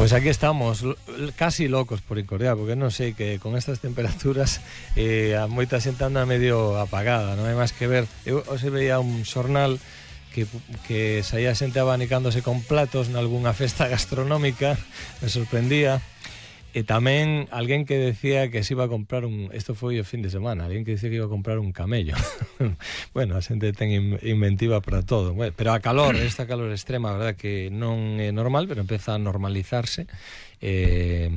Pues aquí estamos, casi locos por Incordiar, porque non sei que con estas temperaturas a moita xente anda medio apagada, non hai máis que ver. Eu hoxe veía un xornal que saía xente abanicándose con platos nalgúnha festa gastronómica, me sorprendía. E tamén alguén que decía que se iba a comprar isto foi o fin de semana, alguén que decía que iba a comprar un camello. Bueno, a xente ten inventiva para todo. Bueno, pero a calor, esta calor extrema, a verdad que non é normal, pero empeza a normalizarse. E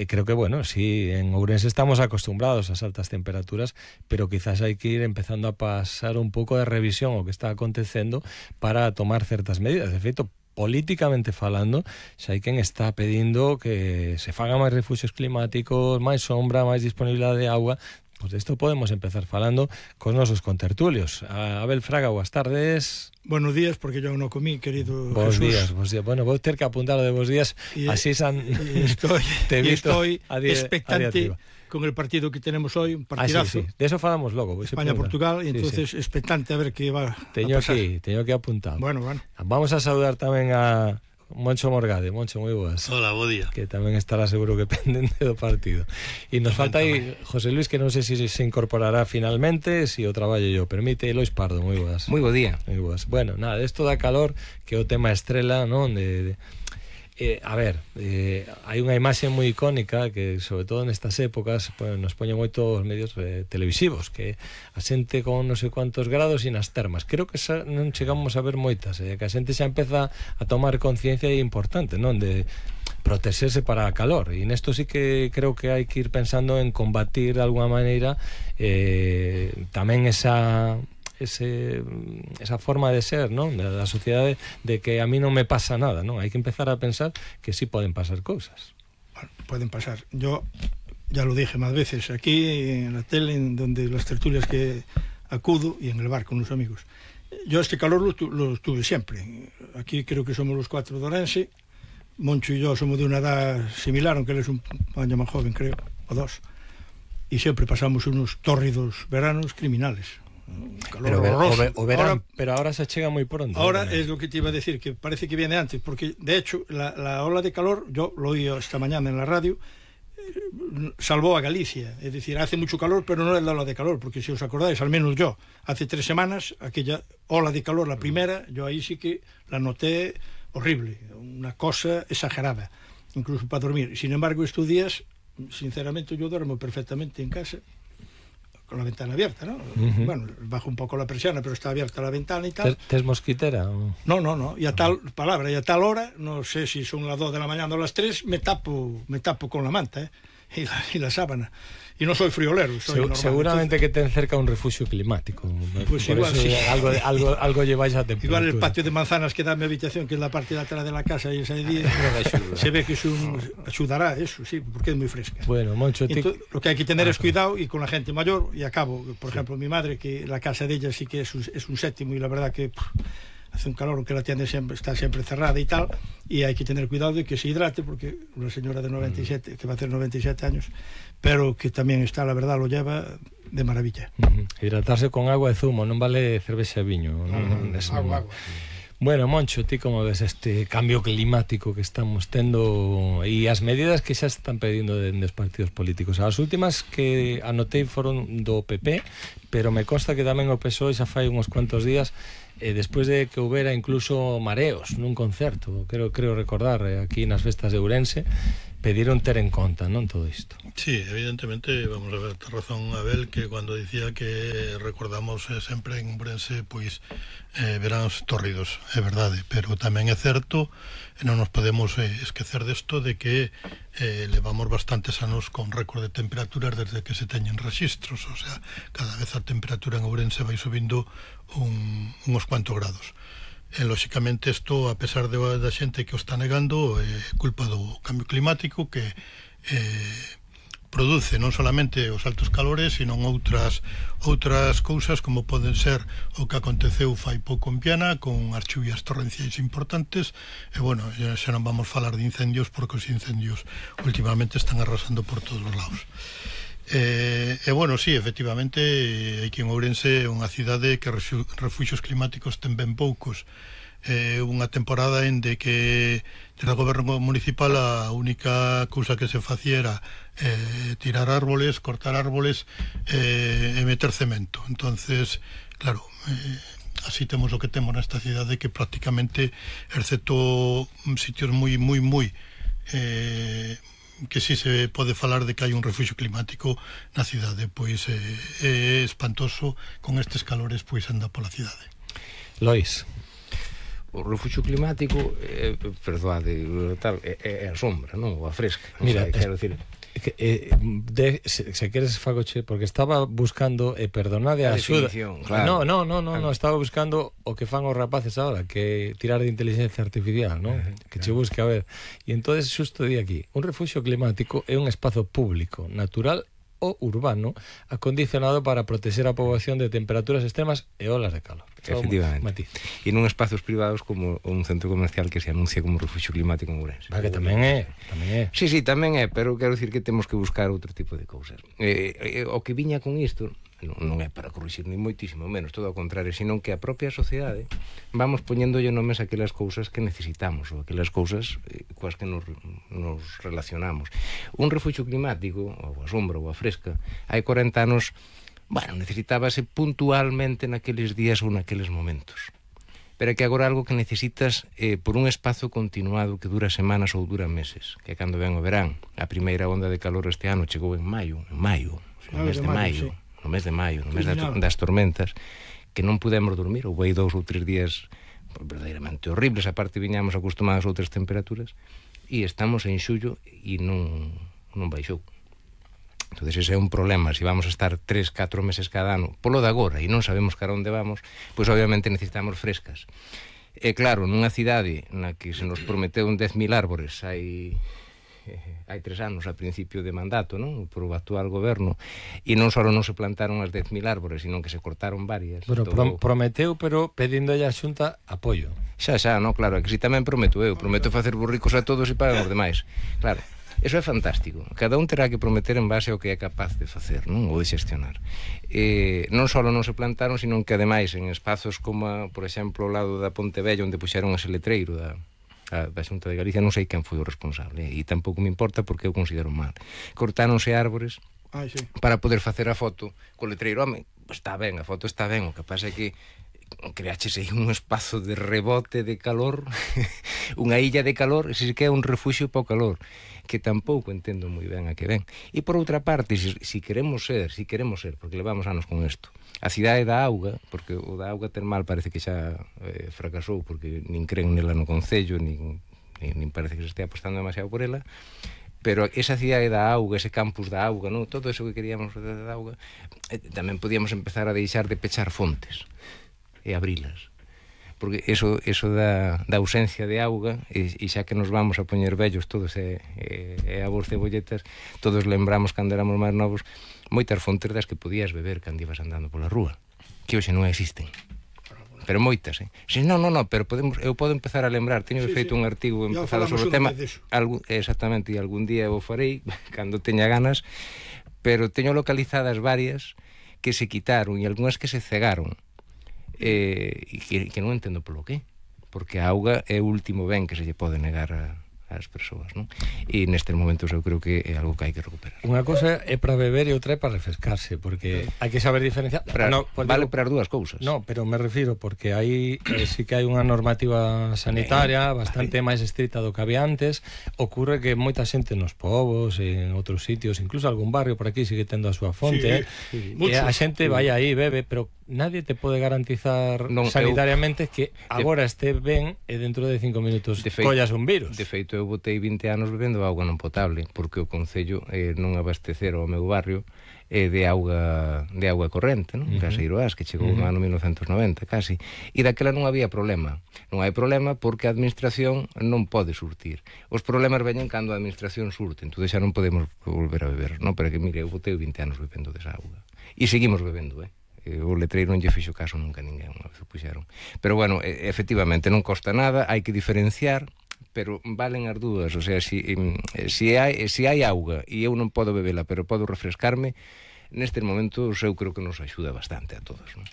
creo que, bueno, sí, en Ourense estamos acostumbrados ás altas temperaturas, pero quizás hai que ir empezando a pasar un pouco de revisión o que está acontecendo para tomar certas medidas. De feito, políticamente falando, xa hai quen está pedindo que se fagan máis refuxios climáticos, máis sombra, máis disponibilidade de agua. Pois isto podemos empezar falando cos nosos contertulios. Abel Fraga, boas tardes. Buenos días, porque yo non comí, querido Bos Jesús. Bos días. Bueno, vou ter que apuntar o de bos días, así estoy expectante con el partido que tenemos hoy, un partidazo. Sí. De eso falamos logo. España-Portugal, y entonces expectante a ver qué va a pasar. Teño que apuntar. Bueno. Vamos a saludar tamén a Moncho Morgade. Moncho, moi boas. Hola, bo día. Que tamén estará seguro que pendente do partido. E nos falta aí José Luis, que non sei se incorporará finalmente, se o traballo yo permite. Lois Pardo, moi boas. Moi bo día. Moi boas. Bueno, nada, isto da calor, que é o tema estrela, non? Hai unha imaxe moi icónica que, sobre todo nestas épocas, nos poñen moito os medios televisivos, que a xente con non sei cuantos grados e nas termas. Creo que non chegamos a ver moitas, que a xente xa empeza a tomar conciencia importante, non? De protexerse para a calor, e nesto sí que creo que hai que ir pensando en combatir de alguma maneira tamén esa forma de ser, non? Da sociedade, de que a mí non me pasa nada, non? Hai que empezar a pensar que sí poden pasar cousas. Bueno, pueden pasar. Yo ya lo dije más veces aquí en la tele, en donde las tertulias que acudo, y en el bar con los amigos. Yo este calor lo tuve siempre. Aquí creo que somos los 4 de Orense. Moncho y yo somos de una edad similar, aunque él es un año más joven, creo, o 2. Y siempre pasamos unos tórridos veranos criminales. Pero verán, pero ahora se chega moi pronto. Ahora es lo que te iba a decir, que parece que viene antes, porque de hecho la ola de calor, yo lo oí esta mañana en la radio, salvó a Galicia. Es decir, hace mucho calor, pero no es la ola de calor, porque si os acordáis, al menos yo, hace 3 semanas, aquella ola de calor, la primera, yo ahí sí que la noté horrible, una cosa exagerada, incluso para dormir. Sin embargo, estos días, sinceramente, yo duermo perfectamente en casa con la ventana abierta, ¿no? Bueno, bajo un poco la persiana, pero está abierta la ventana y tal. ¿Tes mosquitera? No. Y a tal hora, no sé si son las 2 de la mañana o las 3, me tapo con la manta, y la sábana. Y no soy friolero, soy normal. Seguramente entonces, que ten cerca un refugio climático. Pues por igual, sí. Algo lleváis a temperatura. Igual el patio de manzanas que da mi habitación, que es la parte de atrás de la casa, y ese día se ve que ayudará eso, sí, porque es muy fresca. Bueno, Moncho, lo que hay que tener es cuidado, y con la gente mayor, y acabo, por ejemplo, mi madre, que la casa de ella sí que es un séptimo, y la verdad que hace un calor, aunque la tienda está siempre cerrada y tal, y hay que tener cuidado de que se hidrate, porque una señora de 97, que va a hacer 97 años, pero que tamén está, la verdad, lo lleva de maravilla. Hidratarse con agua e zumo, non vale cervexa e viño. Agua. Bueno, Moncho, ti como ves este cambio climático que estamos tendo e as medidas que xa están pedindo dos partidos políticos? As últimas que anotei foron do PP, pero me consta que tamén o PSOE xa fai uns cuantos días, despois de que houbera incluso mareos nun concerto, creo recordar, aquí nas festas de Ourense, pediron ter en conta, non, todo isto. Sí, evidentemente, vamos a ver, ten razón Abel, que cuando dicía que recordamos sempre en Ourense, pois veráns tórridos, é verdade, pero tamén é certo, e non nos podemos esquecer desto, de que levamos bastantes anos con récord de temperaturas desde que se teñen registros, o sea, cada vez a temperatura en Ourense vai subindo uns cuantos grados. Lóxicamente isto, a pesar da xente que o está negando, é culpa do cambio climático, que produce non solamente os altos calores, sino outras cousas, como poden ser o que aconteceu fai pouco en Viana, con as chuvias torrenciais importantes. E bueno, xa non vamos falar de incendios, porque os incendios últimamente están arrasando por todos os lados. E bueno, sí, efectivamente, aquí en Ourense é unha cidade que refuxios climáticos ten ben poucos, unha temporada en de que desde o goberno municipal a única cousa que se facía era tirar árboles, cortar árboles e meter cemento. Entonces, claro, así temos o que temos nesta cidade, que prácticamente, excepto sitios moi que si se pode falar de que hai un refuxio climático na cidade, pois é espantoso con estes calores, pois anda pola cidade. Lois. O refuxio climático, perdoade, tal, é a sombra, non? Ou a fresca. Mira, quero decir, se queres fagoche, porque estaba buscando, perdonade a axuda. Claro. No, estaba buscando o que fan os rapaces agora, que tirar de inteligencia artificial, non? Que che busque a ver. E entonces xusto di aquí, un refuxio climático é un espazo público, natural ou urbano, acondicionado para protexer a poboación de temperaturas extremas e olas de calor. Efectivamente. E non espazos privados como un centro comercial que se anuncia como refuxio climático en Ourense. Que tamén é. Sí, tamén é, pero quero dicir que temos que buscar outro tipo de cousas. O que viña con isto non é para corrixir ni moitísimo menos, todo ao contrario, senón que a propia sociedade vamos poñéndolle nomes a aquelas cousas que necesitamos, ou aquelas cousas coas que nos relacionamos. Un refuxio climático, ou a sombra, ou a fresca, hai 40 anos, necesitábase puntualmente naqueles días ou naqueles momentos. Pero é que agora algo que necesitas por un espazo continuado que dura semanas ou dura meses, que cando ven o verán. A primeira onda de calor este ano chegou en maio, no mes de maio, no mes das tormentas, que non pudemos dormir, ou hai 2 ou 3 días verdadeiramente horribles, aparte viñamos acostumados a outras temperaturas, e estamos en xullo e non baixou. Entón, ese é un problema. Se vamos a estar 3-4 meses cada ano polo de agora e non sabemos cara onde vamos, pois obviamente necesitamos frescas. E claro, nunha cidade na que se nos prometeu 10.000 árbores hai 3 anos a principio de mandato, non? Por o actual goberno, e non só non se plantaron as 10.000 árbores, sino que se cortaron varias. Bueno, prometeu, pero pedíndolle a Xunta apoio. Xa, non, claro, que si tamén prometo facer burricos a todos e pagan os demais. Claro, eso é fantástico. Cada un terá que prometer en base ao que é capaz de facer, non? Ou de xestionar. Non só non se plantaron, sino que ademais en espazos como, por exemplo, ao lado da Ponte Vella, onde puxeron ese letreiro da Xunta de Galicia, non sei quen foi o responsable, e tampouco me importa porque eu considero mal. Cortáronse árbores para poder facer a foto co letreiro. Home, está ben, a foto está ben, o que pasa é que creaches aí un espazo de rebote de calor, unha illa de calor, se que é un refuxio para o calor, que tampouco entendo moi ben a que ven. E por outra parte, si queremos ser, porque levamos anos con isto, a cidade da auga, porque o da auga termal parece que xa fracasou, porque nin creen nela no concello, nin parece que se estea apostando demasiado por ela, pero esa cidade da auga, ese campus da auga, non? Todo eso que queríamos da auga, tamén podíamos empezar a deixar de pechar fontes e abrilas, porque eso da ausencia de auga, e xa que nos vamos a poñer vellos todos e a vos cebolletas, todos lembramos cando éramos máis novos moitas fontes das que podías beber cando ibas andando pola rúa, que hoxe non existen, pero moitas, Si, non, pero eu podo empezar a lembrar, teño feito un artigo empezado sobre o tema, exactamente, e algún día o farei cando teña ganas, pero teño localizadas varias que se quitaron e algunhas que se cegaron, e que non entendo polo que, porque a auga é o último ben que se lle pode negar ás persoas, non? E nestes momentos eu creo que é algo que hai que recuperar. Unha cosa é para beber e outra é para refrescarse, porque hai que saber diferenciar. Vale para as dúas cousas. No, pero me refiro porque aí sí que hai unha normativa sanitaria bastante máis estrita do que había antes. Ocurre que moita xente nos povos, en outros sitios, incluso algún barrio por aquí sigue tendo a súa fonte, e a xente vai aí, bebe, pero nadie te pode garantizar sanitariamente que agora este ben e dentro de 5 minutos collas un virus. De feito, eu botei 20 anos bebendo auga non potable, porque o concello non abastecer ao meu barrio de auga corrente, non? Caseiroás, que chegou no ano 1990, casi. E daquela non había problema. Non hai problema porque a administración non pode surtir. Os problemas veñen cando a administración surte, entón xa non podemos volver a beber, non? Pero que, mire, eu botei 20 anos bebendo desa auga. E seguimos bebendo, o letreiro non lle fixo caso nunca ninguén, unha vez o puxeron. Pero bueno, efectivamente non costa nada, hai que diferenciar, pero valen as dúas, o sea, si hai auga e eu non podo bebela, pero podo refrescarme, nestes momentos eu creo que nos axuda bastante a todos, non?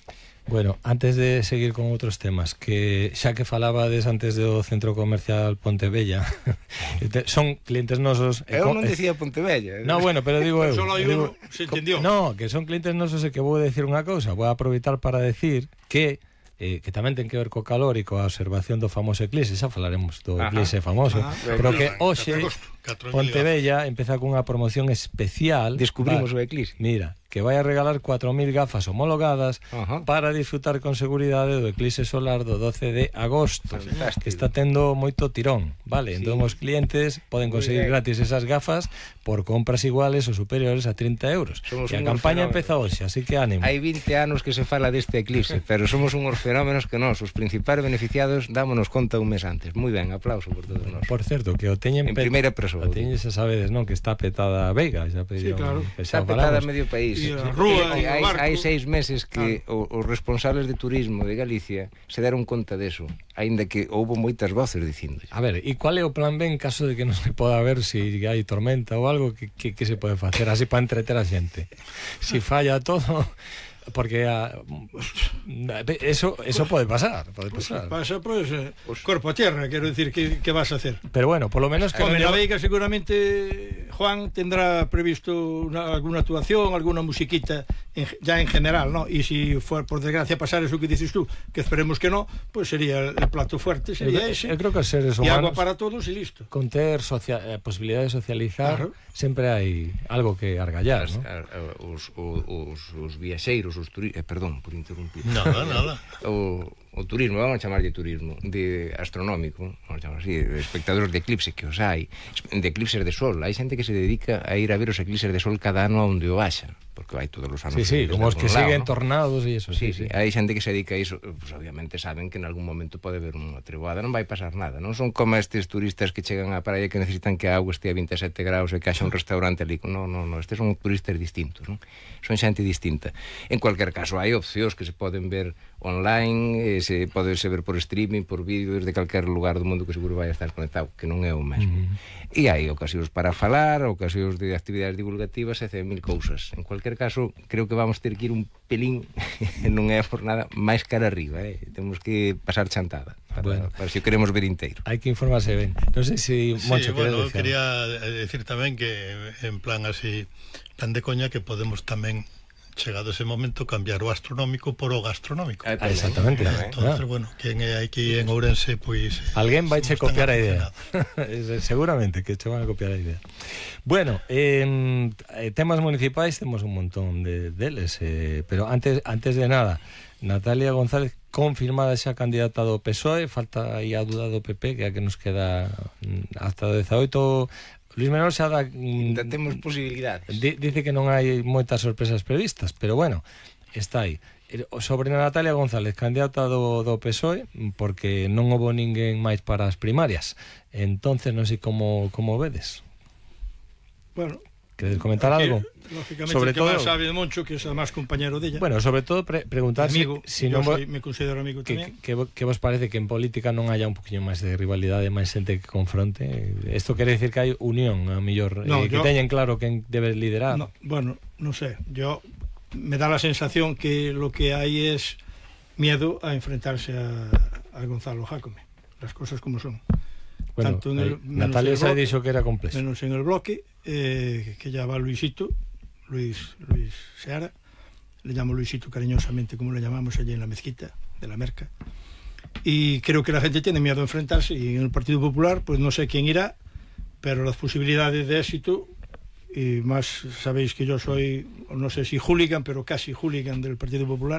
Bueno, antes de seguir con outros temas, que xa que falabades antes do Centro Comercial Pontevella, son clientes nosos... Eu non decía Pontevella. No, bueno, pero digo eu... Solo hai uno, se entendió. No, que son clientes nosos e que vou decir unha cousa. Vou aproveitar para decir que tamén ten que ver co calor e coa observación do famoso eclipse, xa falaremos do eclipse famoso, pero que hoxe Pontevella empeza cunha promoción especial. Descubrimos o eclipse. Mira, que vai a regalar 4.000 gafas homologadas para disfrutar con seguridade do eclipse solar do 12 de agosto. Fantástico. Que está tendo moito tirón, vale? Sí. Entón os clientes poden conseguir gratis esas gafas por compras iguales ou superiores a 30 euros. Somos e a campaña empeza hoxe, así que ánimo. Hai 20 anos que se fala deste eclipse, pero somos unhos fenómenos que nós, os principais beneficiados, dámonos conta un mes antes. Moi ben, aplauso por todos nós. Por certo, que o teñen en primeira persoa. O teñen, xa sabedes, non? Que está petada a Veiga, xa pediron, sí, claro. Está petada medio país. Hai 6 meses que os responsables de turismo de Galicia se deron conta deso, aínda que houbo moitas voces dicindo. A ver, e qual é o plan B en caso de que non se poda ver se hai tormenta ou algo que se pode facer así para entreter a xente? Si falla todo... Porque eso puede pasar, pasa cuerpo a tierra, quero decir, que vas a hacer. Pero bueno, por lo menos que la Veiga seguramente Juan tendrá previsto alguna actuación, alguna musiquita ya en general, ¿no? Y si fuera por desgracia pasar eso que dices tú, que esperemos que no, pues sería el plato fuerte, sería ese. Eu creo que os seres humanos, y agua para todos y listo. Con ter posibilidade de socializar, sempre hai algo que argallar, ¿no? Os viaxeiros, perdón por interrumpir. Nada. O turismo, vamos a chamarlle turismo de astronómico, vamos a chamar así, de espectadores de eclipse, que os hai, de eclipses de sol. Hai xente que se dedica a ir a ver os eclipses de sol cada ano onde o haxa, porque vai todos os anos. Sí, como os que siguen tornados e iso. Sí. Hai xente que se dedica a iso, pues obviamente saben que en algún momento pode haber unha treboada, non vai pasar nada, non son como estes turistas que chegan á praia que necesitan que a auga estea a 27 graus e que haxa un restaurante ali. No, estes son turistas distintos, non? Son xente distinta. En cualquier caso, hai opcións que se poden ver online, se pode ver por streaming, por vídeo, desde calquer lugar do mundo que seguro vai a estar conectado, que non é o mesmo. E hai ocasións para falar, ocasións de actividades divulgativas e 100.000 cousas. En cualquier caso, creo que vamos ter que ir un pelín, non é por nada, máis cara arriba, temos que pasar chantada para se o queremos ver inteiro. Hai que informarse ben. Non sei se Moncho quería decir tamén que en plan así, plan de coña, que podemos tamén, chegado ese momento, cambiar o astronómico por o gastronómico. Exactamente. Entonces, bueno, quen é aquí en Ourense, pois alguén vai che copiar a idea. Seguramente que che van a copiar a idea. Bueno, temas municipais temos un montón deles, pero antes de nada, Natalia González confirmada xa candidata do PSOE, falta aí a duda do PP, que é a que nos queda hasta o 18. Luis Menor xa dá... temos posibilidades. Dice que non hai moitas sorpresas previstas, pero bueno, está aí. Sobre Natalia González, candidata do PSOE, porque non houbo ninguén máis para as primarias. Entonces, non sei como vedes. Bueno, queres comentar algo? Lógicamente, sobre que todo sabe de Moncho, que é además compañero della. Bueno, sobre todo preguntar si non me considero amigo tamén. Que vos parece que en política non haya un poquinho máis de rivalidade, máis xente que confronte? Isto quere decir que hai unión, a mellor, que teñen claro quen debe liderar. Bueno, non sé, me da la sensación que lo que hay es miedo a enfrentarse a Gonzalo Jácome, las cosas como son. Bueno, tanto Natalia se ha dicho que era complejo. Menos en el bloque, que ya va Luis Seara, le llamo Luisito cariñosamente, como le llamamos allí en la mezquita de la Merca, y creo que la gente tiene miedo a enfrentarse, y en el Partido Popular pues no sé quién irá, pero las posibilidades de éxito, y más sabéis que yo soy, no sé si hooligan, pero casi hooligan del Partido Popular,